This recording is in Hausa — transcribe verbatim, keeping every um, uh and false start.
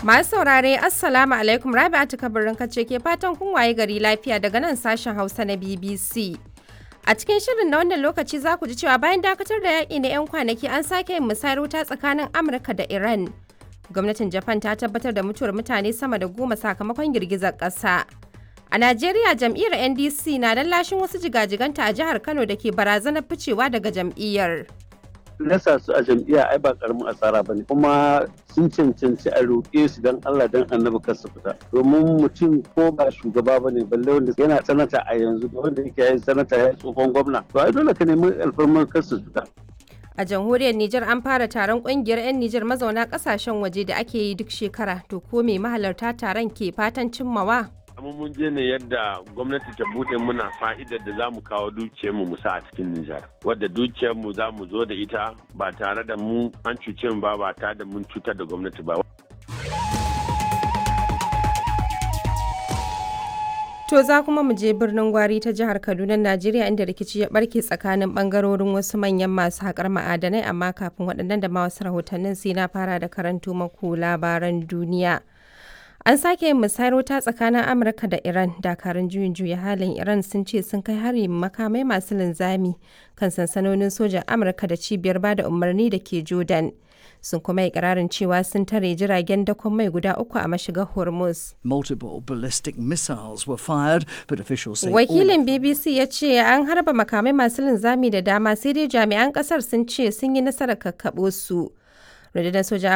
Masu saurare, Assalamu alaikum. Rabi'atu Kabirin kace ke fatan kun waye gari lafiya daga nan sashen Hausa na B B C. A cikin shirin na wannan lokaci za ku ji cewa bayan dakatar da yaƙi na 'yan kwanaki, an sake yin musayar wuta tsakanin Amurka da Iran. Gwamnatin Japan ta tabbatar da mutuwar mutane sama da goma sakamakon girgizar ƙasa. A Najeriya, jam'iyyar N D C na lashin wasu jigajiganta a jihar Kano da ke barazanar ficewa daga jam'iyyar. Rasa su a jam'iyya ai ba karamin asara bane, kuma sun cancanci a roƙe su don Allah don Annabi kar su fita, domin mutum ko ba shugaba bane, balle wanda yana sanata a yanzu da wanda yake yin sanata ya tsohon gwamna, to ai dole ka nemi alfarmar kar su fita. A jamhuriyar Nijar, an fara taron kungiyar 'yan Nijar mazauna kasashen waje da ake yi duk shekara. To ko me mahalarta taron ke fatan cimmawa? Amma mun je ne yadda gwamnati ta bude muna fa'idar da za mu kawo dukiyarmu mu sa a cikin Nijar. Wadda dukiyarmu za mu zo da ita ba tare da mu an cuce mu ba, ba tare da mun cutar da gwamnati ba. To za kuma mu je birnin Gwari ta jihar Kaduna, Najeriya, inda rikici ya barke tsakanin bangarorin wasu manyan masu haƙar ma'adanai, amma kafin waɗannan da ma wasu rahotannin, sai na fara da karanto maku labaran duniya. An sake yin musayar wuta tsakanin Amurka da Iran. Dakarun juyin juya halin Iran sun ce sun kai hari makamai masu linzami kan sansanonin sojan Amurka da cibiyar bada umarni da ke Jordan. Sun kuma ikirarin cewa sun tare jiragen dakon mai guda uku a mashigar Hormuz. Multiple ballistic missiles were fired, but officials say all Wakilin B B C ya ce an harba makamai masu linzami da dama, sai dai jami'an kasar sun ce sun yi nasarar kakkaɓo su. Rundunar sojan